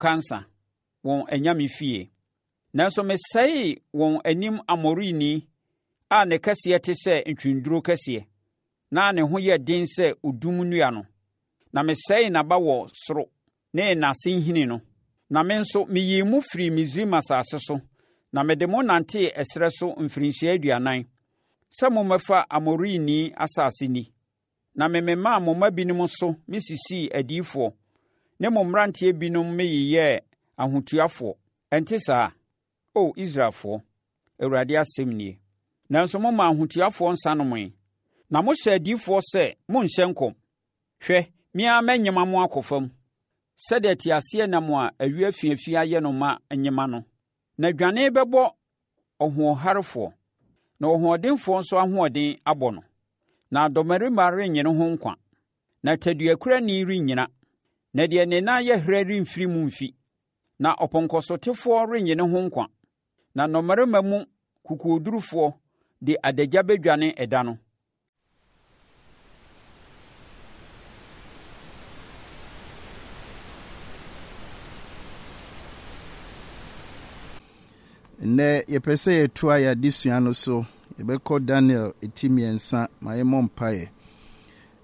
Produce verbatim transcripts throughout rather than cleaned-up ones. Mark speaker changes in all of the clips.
Speaker 1: kansa, wɔn anyame fie. Nanso mesɛee wɔn anim Amorini a ne kɛseɛ te sɛ ntweneduro kɛseɛ, na ne ho yɛ den sɛ odum nnua no. Na mesɛee n'aba wɔ soro ne n'ase nhini no. Na me nso meyii mo firii Misraim asase so, na mede mo nantee ɛserɛ so mfirinhyia aduanan, sɛ mommɛfa Amorini asase nni. Na mememaa mo mma binom so mesisii adiyifoɔ, ne mo mmeranteɛ binom meyeyɛɛ ahotuafoɔ. Ɛnte saa, O Israelfoɔ? Awurade asɛm nie. Nanso momaa ahotuafoɔ nsa nomee, na mohyɛɛ adiyifoɔ sɛ, Monnhyɛ nkɔm. Hwɛ, me ara mɛnyema mo akɔ fam, sɛdeɛ teaseɛnam a ayuo afiafi ayɛ no ma nyema no. Na dwane bɛbɔ ɔhoɔharefoɔ, na ɔhoɔdenfoɔ nso ahoɔden abɔ no. Na dɔmmarima rennye ne ho nkwa, na taduakurani rennyina, na deɛ ne nan yɛ herɛ remfiri mu mfi, na ɔpɔnkɔsotefoɔ rennye ne ho nkwa, na nnɔmmarima mu kokoɔdurufoɔ de adagya bɛdwane ɛda no.
Speaker 2: Nnɛ yɛpɛ sɛ yɛtoa yɛn adesua no so. Yɛbɛkɔ Daniel ti mmiɛnsa. Ma yɛmmɔ mpaeɛ.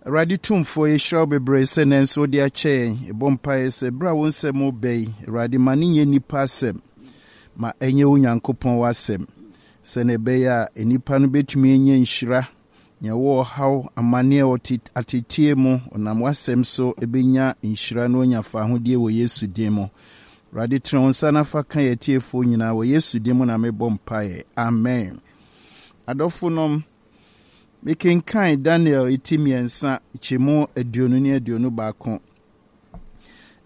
Speaker 2: Awurade Tumfoɔ, yɛhyira wo bebree sɛ nnɛ nso wode akyɛ yɛn. Yɛbɔ mpaeɛ sɛ berɛ a wo nsɛm reba yi, Awurade, ma no nyɛ nnipa asɛm, ma ɛnyɛ wo Nyankopɔn w'asɛm, sɛnea ɛbɛyɛ a nnipa no bɛtumi anya nhyira. Nea ɔwɔ ɔhaw, amanneɛ, ɔte ateteɛ mu, ɔnam w'asɛm so bɛnya nhyira na wanya fahodie wɔ Yesu din mu. Awurade, tene wo nsa na fa ka yɛn atiefoɔ nyinaa wɔ Yesu din mu na mebɔ mpaeɛ. Amen. Adɔfonom, mekenkan Daniel ti mmiɛnsa kyɛmu aduonu ne aduonu baako.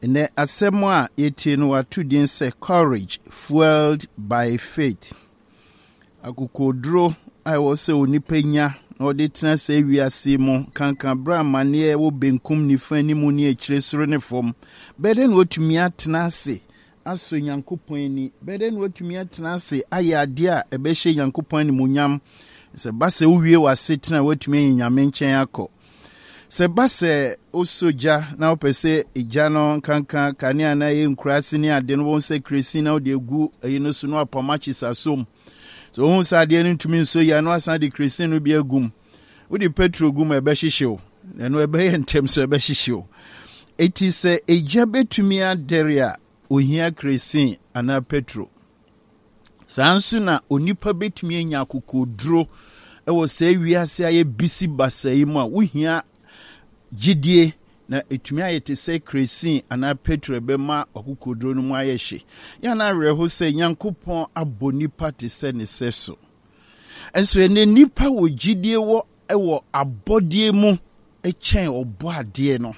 Speaker 2: Nnɛ asɛm a yɛtie no wɔato din sɛ Courage Fueled by Faith. Akokoɔduro a ɛwɔ sɛ onipa nya na ɔde tena saa wiase mu kankan berɛ amanneɛ wɔ benkum nifa anim ne akyire soro ne fam. Bɛyɛ dɛn na watumi atena ase asɔ Nyankopɔn ani? Bɛyɛ dɛn na watumi atena ase ayɛ adeɛ a ɛbɛhyɛ Nyankopɔn animuonyam? Sɛ ba sɛ wowie w'asetena a woatumi anya Nyame nkyɛn akɔ. Sɛ ɛba sɛ wosɔ gya na wopɛ sɛ gya no nkanka kanea na ɛyɛ nkuraase ne ade no, wɔn sɛ kresin na wode agu ɛyi no so na wapam akyesa asom. Sɛ wohu sɛ adeɛ no ntumi nsɔ yie a na wasan de kresin no bi agu mu. Wode petro gu mu a ɛbɛhyehye wo. Ɛno ɛbɛyɛ ntɛm so ɛbɛhyehye wo. Eti sɛ egya bɛtumi adɛre a, ohia kresin anaa petro. Saa nso na onipa betumi anya akokoduro wɔ saa wiase a bisi basa yi mu a wohia gyidie na ɛtumi ayɛ te sɛ kresin anaa petro ɛbɛma akokoduro no mu ayɛ hye. Yɛn awerɛho sɛ Nyankopɔn abɔ nipa te sɛ ne sɛ so. Nso ɛnɛ nipa wɔ gyidie wɔ wɔ abɔdeɛ mu kyɛn ɔbɔ adeɛ no.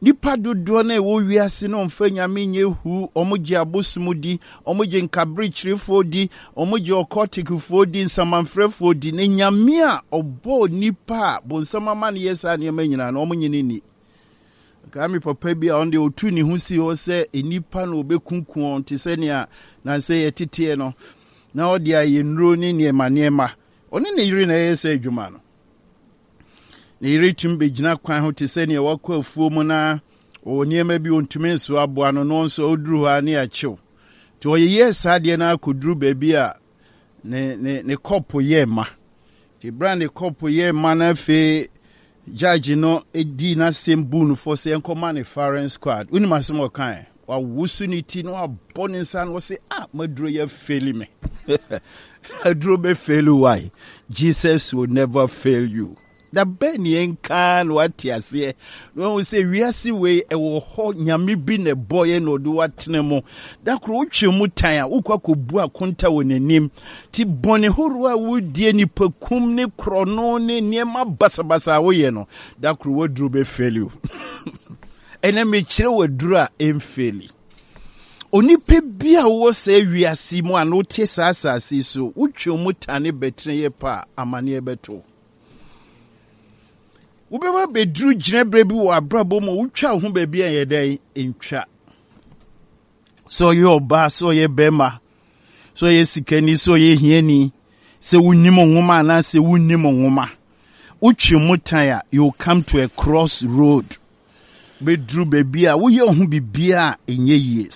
Speaker 2: Nnipa dodoɔ no a ɛwɔ wiase no mfa Nyame nyɛ hu, wɔgye abosom di, wɔgye nkaberekyerefoɔ di, wɔgye ɔkɔtikfoɔ di, nsamanfrɛfoɔ di, na Nyame a ɔbɔɔ nnipa a bonsam ama no yɛ saa nneɛma nyinaa no, wɔnye no nni. Kaa me papa bi a ɔno deɛ ɔtu ne ho si hɔ sɛ nnipa na ɔbɛkunku wɔn te sɛ nea nansɛ yɛteteɛ no, na ɔde ayɛ nnuro ne nneɛma nneɛma. Ɔne ne yere na ɛyɛ sɛ adwuma no. Ne yere tumi bɛgyina kwan ho te sɛ nea wakɔ afuo mu na ɔwɔ nneɛma bi ɔntumi nso aboa no no nso ɔduru hɔ a ne akyew. Nti ɔyeyɛɛ saa adeɛ no akɔduru baabi a ne, ne, ne kɔpo yɛɛ ma. Nti berɛ a ne kɔpo yɛɛ ma no afei judge no dii n'asɛm buu no fɔ sɛ yɛnkɔma ne firing squad. Wonim asɛm a ɔkae? Wawoso ne ti na wabɔ ne nsa na ɔse, ah, maduro yɛ feli me. Aduro bɛ fail why? Jesus will never fail you. Da bɛn ne yɛnka na wate aseɛ na wahu sɛ wiase wei ɛwɔ hɔ nyame bi na ɛbɔeɛ na ɔde watena mu. Da koro wotwe mu tan a wokɔ akɔbu akonta wɔ n'anim. Ti bɔne horow a wodie nipakum ne korɔno ne nneɛma basabasa a woyɛ no, da koro waduro bɛ fail you. Ɛnɛ mekyerɛ waduro a ɛmfeeli. Onipa bi a wowɔ saa wiase mu a na wote saa asase yi so, wotwe mu tane bɛtena yɛ pa a, amanneɛ bɛto. Wobɛba bɛduru gyinaberɛ bi wɔ abrabɔ mu a wotwa wo ho baabi a ɛyɛ dɛn ntwa. Sɛ ɔyɛ ɔbaa, sɛ ɔyɛ bɛrima, sɛ ɔyɛ sikani, sɛ ɔyɛ hiani, sɛ wonim nwoma anaasɛ wonnim nwoma. Wotwe mu tan a, you come to a cross road. Bɛduru baabi a woyɛ wo ho biribiara a ɛnyɛ yie.